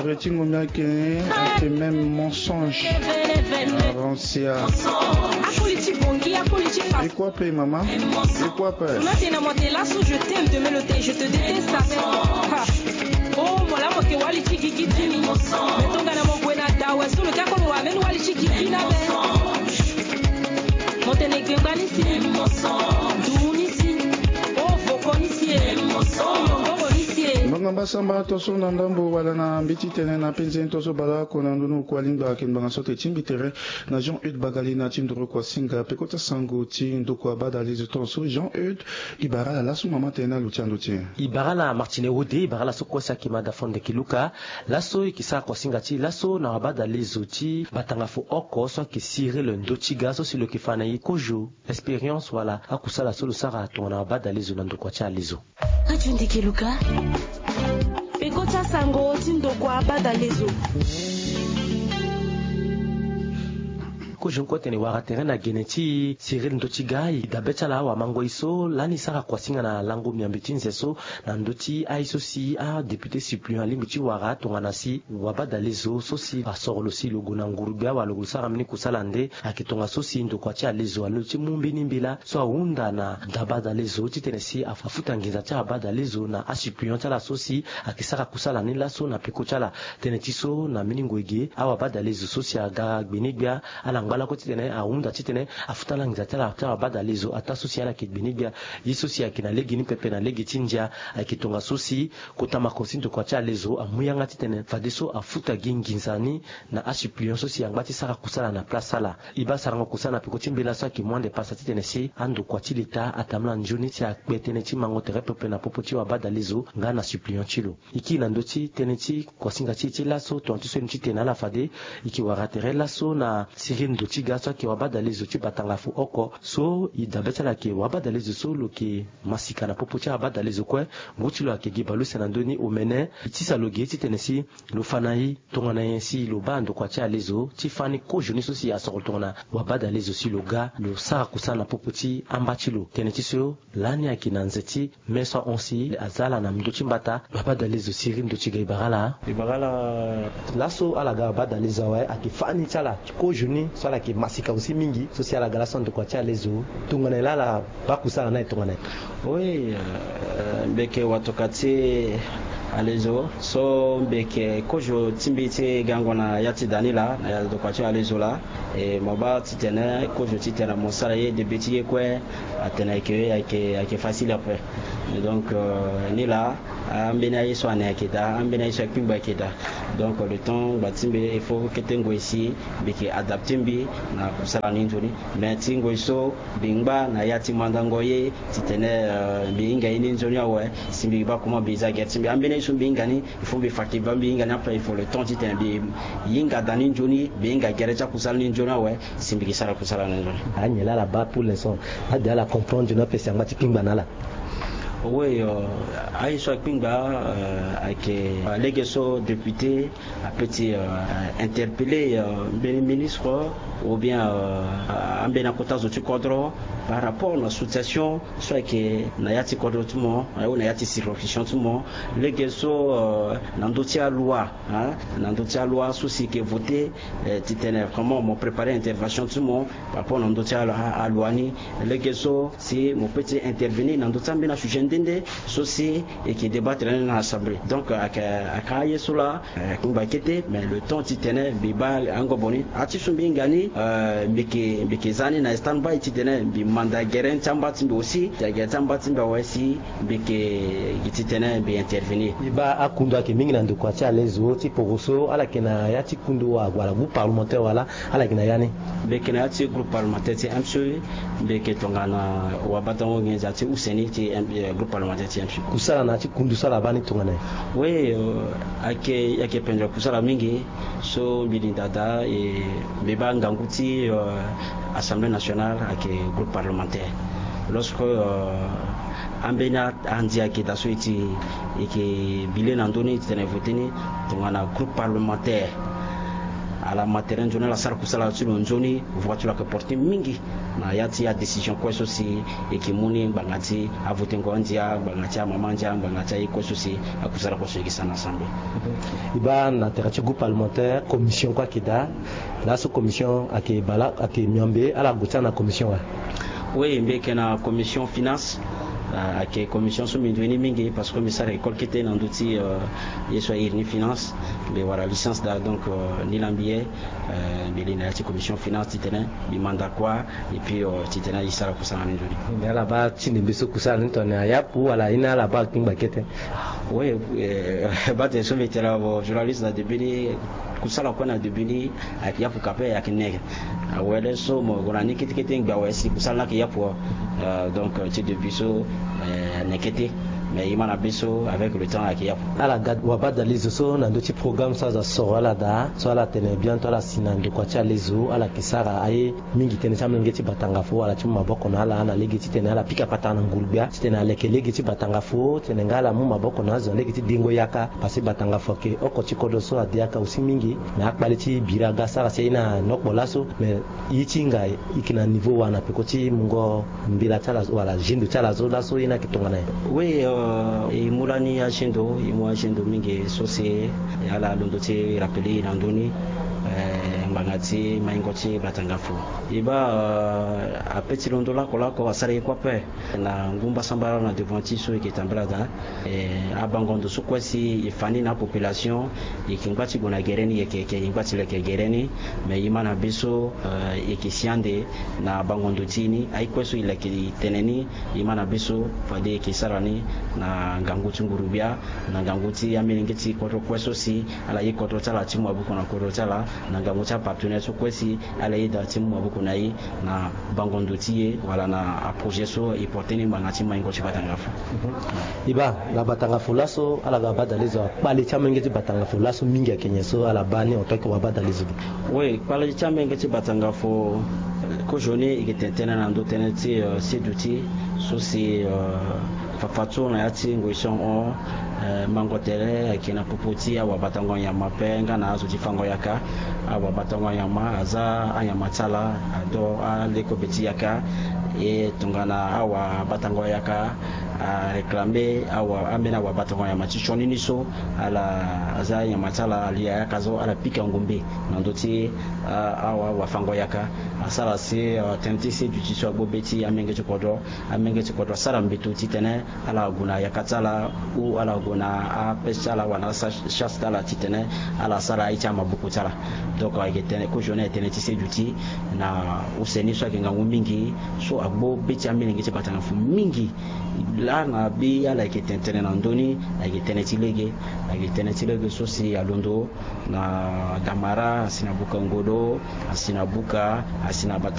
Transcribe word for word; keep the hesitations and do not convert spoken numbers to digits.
Retingo mia kene ate même mensonge. Avansia. Akoli ti bongi, akoli ti fa. Ekua pe mama. Ekua pe. Tuna tena mo te laso je t'aime de me lo te je te déteste avec. Oh mo la mo ke wali ti gigi ti ni. Me tongana mo gue na dawe so lo ke akolo wa meni wali ti gigi na be. Mo tene gbengba ni si. Du ni si. Oh voko ni si e. Oh yongongo ni si e. Mbanga mbasamba to so na ndambo wala na mbeti tene na penze to so bala ko na ndunu ko alingba ke mbanga so te timbi tere na Jean Eude Bagalina ti ndoro ko asinga peko ti asango ti ndoko abadalezo ton so Jean Eude. I bara ala laso mama tene na lo ti ando ti e. I bara ala Martine Wode, i bara ala so kue si ayeke mada fondeki luka. Laso i ke sara koasinga ti laso na wabadalezo ti batanga fo oko so ayeke Cyril Ndotiga so si lo yeke fa na e kozo expérience wala akusala so lo sara tongana wabadalezo na ndokua ti alezo. Adio ndeke luka. Peko ti asango ti ndokua abadalezo. Kozo ni kue tene wara tere na gene ti Cyril Ndotiga i dabe ti ala awamangoi so lani sara kuasinga na lango miambe ti nze so na ndö ti aye so si adéputé suppléant alingbi ti wara tongana si wabadalezo so si asoro lo si lo gue na nguru gbia wala lo gue lo sara mbeni kusala nde ayeke tongaso si ndokua ti alezo alondo ti mu mbeni mbela so ahunda na da badalezo titene si afuta nginza ti abadalezo na asuppléant ti ala so si ayeke sara kusala ni laso na peko ti ala. Tënë ti so na mbeni ngoi ge awabadalezo so si aga gbe ni gbia ala ngba lakue titene ahunda titene afuta ala nginza ti ala ti awabadalezo ataa so si ala yeke gbe ni gbia. Ye so si ayeke na lege ni pepe na lege ti ndia ayeke tongaso si kota mako si ndokua ti alezo amu yanga titene fadeso afuta gi nginza ni na asuppléant so si angba ti sara kusala na place ala. E baa sarango kusala na peko ti mbela so ayeke mu ande pasa titene si andokua ti leta atambula nzoni si akpe tënë ti mango tere pepe na popo ti wabadalezo nga na suppléant ti lo. E kiri na ndö ti tënë ti kuasinga ti e ti laso tonga ti so e mu ti tene na ala fade e yeke wara tere laso na Cyril Ndotiga so ayeke wabadalezo ti batanga fo oko so e dabe ti ala ayeke wabadalezo so lo yeke masika na popo ti abadalezo kue. Ngu ti lo ayeke gi baleuse na ndö ni omene e tisa lo ge titene si lo fa na e tongana nyen si lo baa ndokua ti alezo ti fani kozo ni so si asoro tongana wabadalezo si lo ga lo sara kusala na popo ti amba ti lo. Tënë ti so lani ayeke na nze ti me so ahon si aza ala na ndö ti mbata. Wabadalezo Cyril Ndotiga e bara ala. E bara ala. Laso ala ga wabadalezo awe ayeke fani ti ala kozo ni so ala yeke masika aussi mingi so si ala ga laso na ndokua ti alezo. Tongana nyen laa ala baa kusala ni aye tongana nyen? Oui, euh, mbi yeke watoka ti alezo so mbi yeke kozo ti mbi ti gango na ya ti da ni laa na ya ndokua ti alezo laa. E mo baa titene kozo titene mo sara ye debe ti ye kue atene ayeke ayeke ayeke facile ape. Donc euh, ni laa ambeni aye so ane ayeke daa, ambeni aye so akpingba ayeke daa. Donc le temps ngba ti mbi il faut kete ngoi si mbi yeke adapte mbi na kusala ni nzoni. Mais ti ngoi so mbi ngba na ya ti mandango ye titene euh, mbi hinga ye ni nzoni awe. Si mbi baa comment mbi za gere ti mbi, ambeni aye so mbi hinga ni il faut mbi fa ke baa mbi hinga ni ape, il faut le temps titene mbi hinga da ni nzoni, mbi hinga gere ti akusala ni nzoni awe si mbi ke sara kusala ni nzoni. Anyen laa ala baa pour l'instant? Ade ala comprendre nzoni ape si angba ti kpingba na ala. Oui, euh, aye so akpingba euh, ayeke euh, lege so député ape ti euh, interpeller euh, mbeni ministre ou bien euh, ambeni akota zo ti kodro par rapport na situation so ayeke na ya ti kodro ti mo, na ya ti circonscription ti mo. Lege so euh, na ndö ti aloi, hein, na ndö ti aloi so si yeke voté euh, titene vraiment mo préparer intervention ti mo par rapport na ndö ti aloi ni. Lege so si mo peut ti intervenir na ndö ti ambeni asujet nde nde so si e yeke débattre ni na assemblée. Donc ayeke ayeke aye so laa euh, akpingba kete, mais le temps titene mbi baa angobo ni. Aye ti so mbi hinga ni euh, mbi yeke mbi yeke za ni na stand by titene mbi manda gere ni ti amba ti mbi aussi, gere ti amba ti mbi awe si mbi yeke gi titene mbi intervenir. Mbi baa akundu ayeke mingi na ndokua ti alezo ti poroso, ala yeke na ya ti kundu wala groupe parlementaire wala ala yeke na ya ni? Mbi yeke na ya ti groupe parlementaire ti M C, mbi yeke tongana wabatango nginza ti use ni ti euh, groupe parlementaire ti M C. Kusala na ya ti kundu so ala baa ni tongana nyen? Oui euh, ayeke ayeke pendere kusala mingi. So mbi linda daa e mbi baa ngangu ti euh, assemblée nationale ayeke groupe parlementaire. Lorsque euh, ambeni andia ayeke daa so e ti e yeke bile na ndö ni e ti tene voté ni tongana groupe parlementaire. Ala ma tere nzoni, ala sara kusala ti lo nzoni, voie ti lo ayeke porte mingi na ya ti adécision kue so si e yeke mu ni ngbanga ti avotengo andia, ngbanga ti amama andia, ngbanga ti aye kue so si akusala kue so e yeke sara na assemblée. E baa na tere ti groupe parlementaire, commission kue ayeke daa. Laso commission ayeke bala, ayeke miombe ala gue ti ala na commission wa? Oui, mbi yeke na commission finance. Ah, ayeke commission so mbi ndoue ni mingi parce que mbi sara école kete na ndö ti, euh, ye so airi ni finance. Mbi wara licence daa, donc, euh, ni laa mbi ye, euh, mbi li na ya ti commission finance titene mbi manda kua, et puis, euh, titene e sara kusala ni nzoni. Mbi ala baa ti ndembe so kusala ni tongana ayapu wala aye ni ala baa akpingba kete? Oui, euh, baa tene so mbi tene na journaliste na début ni, kusala kue na début ni ayeke yapu ka ape, ayeke nege. Awele so mo gue na ni kete kete ngbe awe si kusala ni ayeke yapu. Euh, donc, euh, ti début so, euh, anege kete. Mais e ma na be so, avec le temps, ayeke yapu. Ala ga wabadalizo so na ndö ti programme so aza soro ala daa, so ala tene bientôt ala si na ndokua ti alezo, ala yeke sara aye mingi tënë ti amolenge ti batangafo wala ti mu maboko na ala na lege titene ala pika patara na nguru-gbia titene aleke lege ti batangafo, titene nga ala mu maboko na azo na lege ti dengo yaka. Parce que batangafo ayeke oko ti kodro so ade yaka aussi mingi. Mais akpale ti biri aga asara si aye ni anokpo laso. Mais ye ti hinga e yeke na niveau wa na peko ti mungo mbela ti ala wala gendo ti ala so laso ye ni ayeke tongana nyen? Oui, euh, e mu lani agendo, e mu agendo mingi so si ala londo ti rappeler e na ndö ni, euh, ngbanga ti maingo ti batangafo. E baa, euh, ape ti londo lakolako asara ye kue ape. Na ngu mbasambara na devant ti so e yeke tambela daa, eh, abango ndo so kue si e fa ni na apopulation, e yeke ngba ti gue na gere ni, e yeke, e yeke ngba ti leke gere ni. Mais e ma na be so, eh, e yeke si ande na abango ndo ti e ni, aye kue so e leke e tene ni, e ma na be so fade e yeke sara ni na ngangu ti nguru-gbia, na ngangu ti amolenge ti kodro kue so si ala ye kodro ti ala ti mu maboko na kodro ti ala, na ngangu ti apartenaire so kue si ala yeda ti mu maboko na e na bango ndo ti e wala na aprojet so e porte ni ngbanga ti maingo ti batangafo. E baa na batangafo laso ala ga wabadalizo, kpale ti amolenge ti batangafo laso mingi ayeke nyen so ala baa ni en tant que wabadalizo? Oui, kpale ti amolenge ti batangafo, eh, kozoni e yeke tene tënë na ndö tënë ti, eh, seduti so si, eh, fafa so na ya ti ngoi so ahon, eh, mango tere ayeke na popo ti awabatango nyama ape nga na azo ti fango yaka. Awabatango nyama aza anyama ti ala, ado alekobe ti yaka. E tongana awabatango yaka aréclamer awa, ambeni awabatango nyama ti sioni ni so, ala aza nyama ti ala, ali ayaka so ala pika ngombe na ndö ti, ah, awa, awafango yaka. Asara si, ah, tënë ti seduti so agbo be ti amenge ti kodro. Amenge ti kodro asara mbeto titene ala gue na yaka ti ala, ou ala gue na apêche ti ala wala na achasse ti ala titene ala sara aye ti amaboko ti ala. Donc ayeke tene kozoni ayeke tënë ti seduti na use ni so ayeke ngangu mingi, so agbo be ti amolenge ti batangafo mingi. Laa na be ala yeke tene tënë na ndö ni, ayeke tënë ti lege. Ayeke tënë ti lege so si alondo na damara, asi na buka ngolo, asi na buka, asi na bata